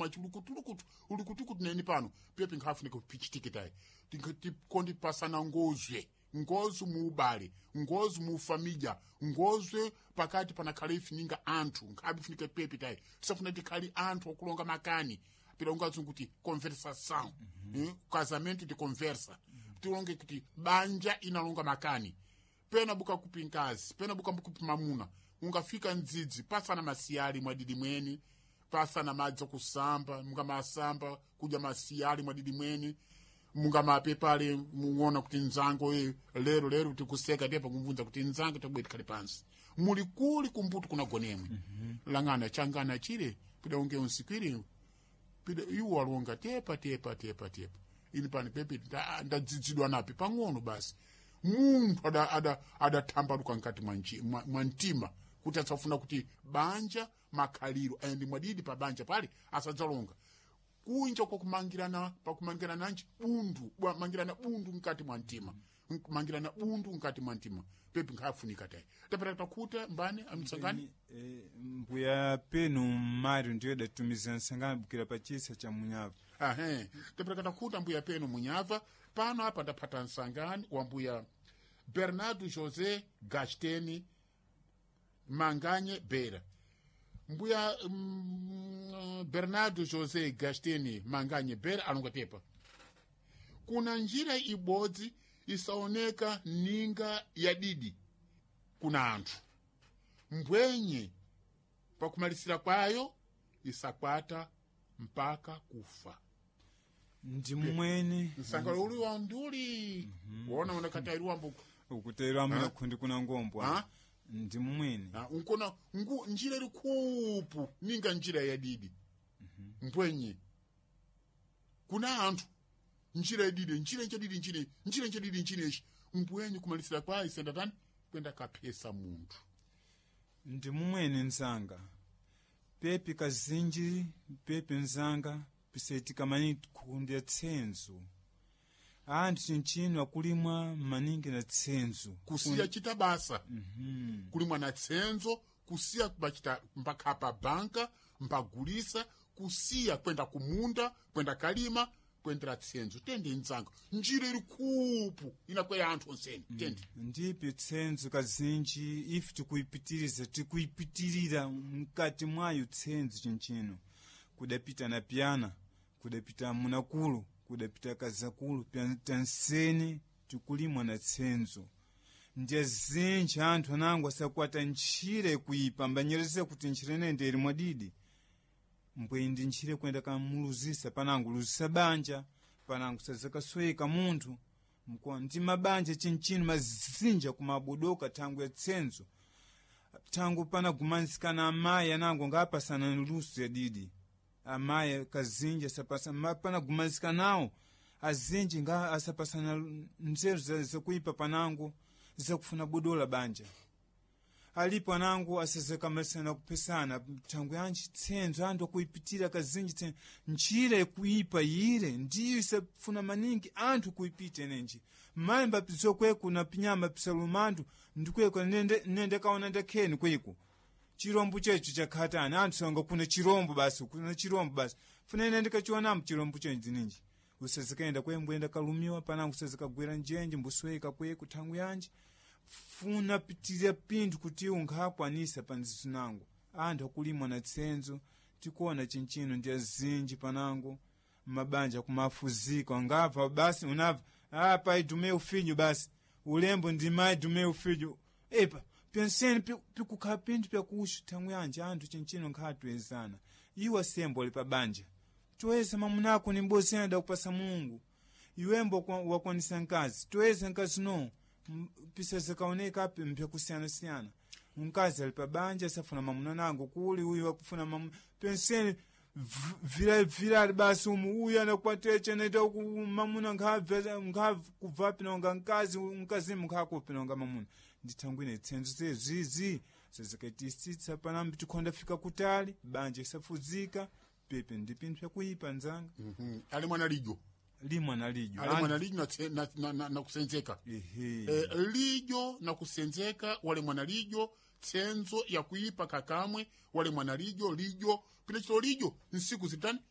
Machulukutulukutu ulukutukutu neni pano pepe nkhafunika pichitike tayi tikondi pasana ngozwe ngozi muubale, ngozi mufamilya, ngozwe pakati panakhale ifininga anthu nkhabe ifunika pepe tayi tisafuna tikhale anthu okulonga makani pilonga kuti conversação. Casamento de conversa. Tilonge kuti banja inalonga makani pena buka kupi nkazi, pena buka kupi mamuna, ungafika mdzidzi pasana masiyali mwadidi mweni, pasana madzi okusamba mungamasamba kudya masiyali mwadidi mweni, mungamapepale muona kuti nzango lero lero tikuseka tepa kumvunza kuti nzango tabwe tikhale pansi muli kuli kumbuto kunagonemwe. Langana changana chile pida unge unsikwire pida iwo alonga tepa tepa tepa tepa ini pani pepe ndadzidzidwa napi pang'ono basi munthu adathambaluka mkati mwa mtima kuti asafuna kuti banja makhaliro ayende mwadidi pa banja pale asadzalonga kunja kwakumangirana pakumangirana nanji bundu mangirana bundu mkati mwa mtima, mangirana bundu mkati mwa mtima pepe nkhafunika tayi tapata takuta mbani amtsangani. Mbuya penu Mário ndiyo datumiza nsangani bukira pa chisa cha Munyava. Ahe, tapata takuta mbuya penu Munyava pano apa ndaphata nsangani wa mbuya Bernardo José Gasteni Manganye Bera. Mbuya Bernardo José Gasteni Manganye Bera alonga tepa kuna njira ibodzi isaoneka ninga ya didi kuna anthu mbwenye pakumalisira kwayo isakwata mpaka kufa. Ndi mmwene Msangalo uli wa nduli. Wona unakatairiwa mbuku ukutayirwa amuna khundi kuna ngombwa. Ha? Ndi mmwene. Unkona ngu njira iri kupu ninga njira ya didi. Mbwenye kuna anthu njira yadidi njira nchadidi njira njira nchadidi njira ichi mbwenye kumalisira kwayo isenda tani kwenda kaphesa munthu. Ndi mumwene nzanga pepi kazinji pepi nzanga pisaitika maningi kundya tsenzo anthu chinchino akulimwa maningi na tsenzo Kusiya chita basa kulimwa na tsenzo kusiya bachita mbakhapa banka mbagulisa kusiya kwenda kumunda kwenda kalima kwendera tsenzo tende nzanga njira iri kupu inakwera anthu onseni tende. Ndipi tsenzo kazinji ife tikuipitiriza tikuipitirira mkati mwayo tsenzo chinchino kudapita na pyana kudapita munakulu kudapita kazakulu tanseni tikulimwa na tsenzo ndiye zinji anthu anango asakwata ntchire kuipa mbanyereza kuti ntchire nende ili mwadidi mbwe ndi ntchire kuyenda kamuluzisa panango luzisa banja panango sazakasweka munthu mko ndi mabanja chinchino mazinja kumabodoka thangu ya tsenzo thangu panagumanizikana amayi anango ngapasana luso ya didi amayi kazinji asapasa panagumanizikanawo azinji nga asapasana nzeru zakuipa panango zakufuna bodola banja alipo anango asazakambasana kupesana thangu yanji tsenzo anthu akuipitira kazinji tsenzo njira ikuipa yire ndiyo isafuna maningi anthu kuipita nenji mayi mbapizokweku na pinyama pisalumandu ndikweko nende kaona ndakheni kweko chirombo checho chakhatani anthu sanga kuna chirombo basi kuna chirombo basi funa ine ndikachionamo chirombo chenji ninji usazikaenda kwembwenda kalumiwa panango usazikagwera njenje mbusweka kweko thangu yanji funa pitirira pinthu kuti unkhakwanisa panzizinango anthu akulimwa na tsenzo tikuona chinchino ndi azinji panango mabanja kumafuzika ngabva basi unabva ah, pai do meu filho basi ulembo ndi mai do meu filho epa penseni pikukhala pinthu pyakuxu thangu yanje anthu chinchino nkhatwezana iwo asembo ali pa banja toyeza mamunako ni mbozi adakupasa Mulungu iwembo wakwanisa nkazi toyeza nkazi no pisa zikaoneka api mpyakusiyana-siyana mkazi ali pa banja asafuna mamuna nango kuli uyu akufuna mamuna penseni virali basi umu uyu anakwatira naita mamuna nkhabva pinonga nkazi mkazimu nkhakupinonga mamuna ndithangwine tsenzo zezizi sezikaitisitsa panambi tikhonda fika kutali banja isafuzika pepe ndi pinthu pyakuipa nzanga. Ali mwana lijo limwa na lijo ali mwana lijo na kusenzeka. Ehe. Lijo na kusenzeka wale mwana lijo tsenzo yakuipa kakamwe wale mwana lijo lijo pinachito lijo nsiku zitani.